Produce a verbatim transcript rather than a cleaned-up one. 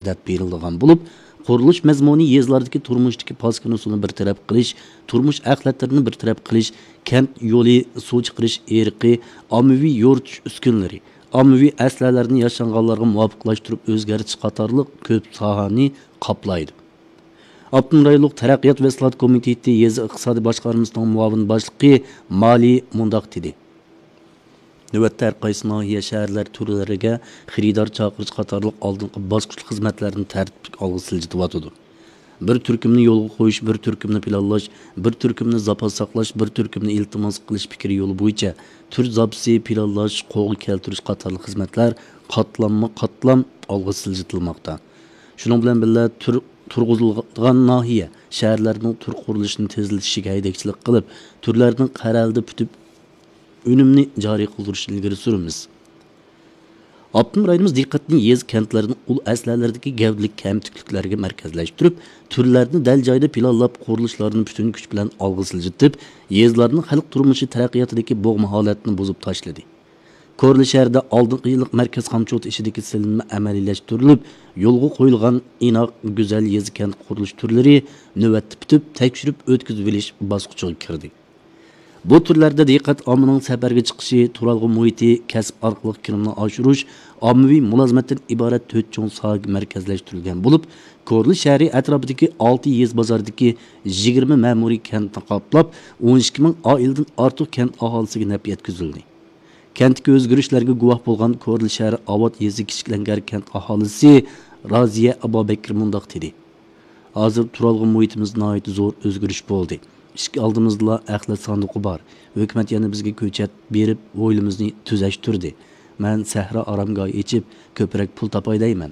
دەپ بېرىلىدىغان بولۇپ، قۇرۇلۇش مەزمۇنى يېزىلاردىكى تۇرمۇشتىكى پاسكىنا سۇنى بىر تەرەپ قىلىش، تۇرمۇش ئەخلەتلىرىنى بىر تەرەپ قىلىش، كەنت يولى، سۇ چىقىرىش ئېرىقى، ئاممىۋى يورۇتۇش ئۈسكۈنىلىرى، ئاممىۋى ئەسلىھەلەرنى ياشانغانلارغا مۇۋاپىقلاشتۇرۇپ ئۆزگەرتىش قاتارلىق كۆپ ساھەنى قاپلايدۇ. ئاپتونوم رايونلۇق تەرەققىيات ۋە ئىسلاھات كومىتېتى يېزا ئىقتىسادىي باشقارمىسىنىڭ مۇئاۋىن باشلىقى مالى مۇنداق دېدى: نۆۋەتتە ھەر قايسى ناھىيە، شەھەرلەر تۈرلىرىگە خېرىدار چاقىرىش قاتارلىق ئالدىنقى باسقۇچلۇق خىزمەتلەرنى تەرتىپلىك ئالغا سىلجىتىۋاتىدۇ. بىر تۈركۈمنى يولغا قويۇش، بىر تۈركۈمنى پىلانلاش، بىر تۈركۈمنى زاپاس ساقلاش، بىر تۈركۈمنى ئىلتىماس قىلىش پىكرى يولى بويىچە تۈر زاپىسى پىلانلاش، قولغا كەلتۈرۈش قاتارلىق خىزمەتلەر قاتلاممۇ قاتلام ئالغا سىلجىتىلماقتا. شۇنىڭ بىلەن بىللە، تۈر-، تۇرغۇزۇلىدىغان ناھىيە، شەھەرلەرنىڭ تۈر قۇرۇلۇشىنى تېزلىتىشىگە ھەيدەكچىلىك قىلىپ، تۈرلەرنىڭ قەرەلدە پۈتۈپ، ئۈنۈمنى جارى قىلدۇرۇشنى ئىلگىرى سۈرىمىز. ئاپتونوم رايونىمىز دىققەتنى يېزا، كەنتلەردىن ئۇل ئەسلىھەلەردىكى گەۋدىلىك كەمتۈكلۈكلەرگە مەركەزلەشتۈرۈپ، تۈرلەرنى دەل جايىدا پىلانلاپ، قۇرۇلۇشلارنى پۈتۈن كۈچ بىلەن ئالغا سىلجىتىپ، يېزىلارنىڭ خەلق تۇرمۇشى تەرەققىياتىدىكى بوغما ھالەتنى بۇزۇپ تاشلىدى. كورلا شەھىرىدە ئالدىنقى يىللىق مەركەز خامچوتى ئىشىدىكى سېلىنما ئەمەلىيلەشتۈرۈلۈپ، يولغا قويۇلغان ئىناق، گۈزەل يېزا، كەنت قۇرۇلۇش تۈرلىرى نۆۋەتتە پۈتۈپ، تەكشۈرۈپ ئۆتكۈزۈۋېلىش باسقۇچىغا كىردى. بۇ تۈرلەردە دىققەت ئاممىنىڭ سەپەرگە چىقىشى، تۇرالغۇ مۇھىتى، كەسىپ ئارقىلىق كىرىمنى ئاشۇرۇش، ئاممىۋى مۇلازىمەتتىن ئىبارەت تۆت چوڭ ساھەگە مەركەزلەشتۈرۈلگەن بولۇپ، كورلا شەھىرى ئەتراپىدىكى ئالتە يېزا بازاردىكى يىگىرمە مەمۇرىي كەنتنى قاپلاپ، ئون ئىككى مىڭ ئائىلىدىن ئارتۇق كەنت ئاھالىسىگە نەپ يەتكۈزۈلدى. كەنتتىكى ئۆزگىرىشلەرگە گۇۋاھ بولغان كورلا شەھەر ئاۋات يېزا كىچىك لەڭگەر كەنت ئاھالىسى رازىيە ئابابەكىر مۇنداق دېدى: ھازىر تۇرالغۇ مۇھىتىمىزدا ناھايىتى زور ئۆزگىرىش بولدى. ئىشىك ئالدىمىزدىلا ئەخلەت ساندۇقى بار. ھۆكۈمەت يەنە بىزگە كۆچەت بېرىپ، ھويلىمىزنى تۈزەشتۈردى. مەن سەھرا ئارامگاھى ئېچىپ، كۆپرەك پۇل تاپاي دەيمەن.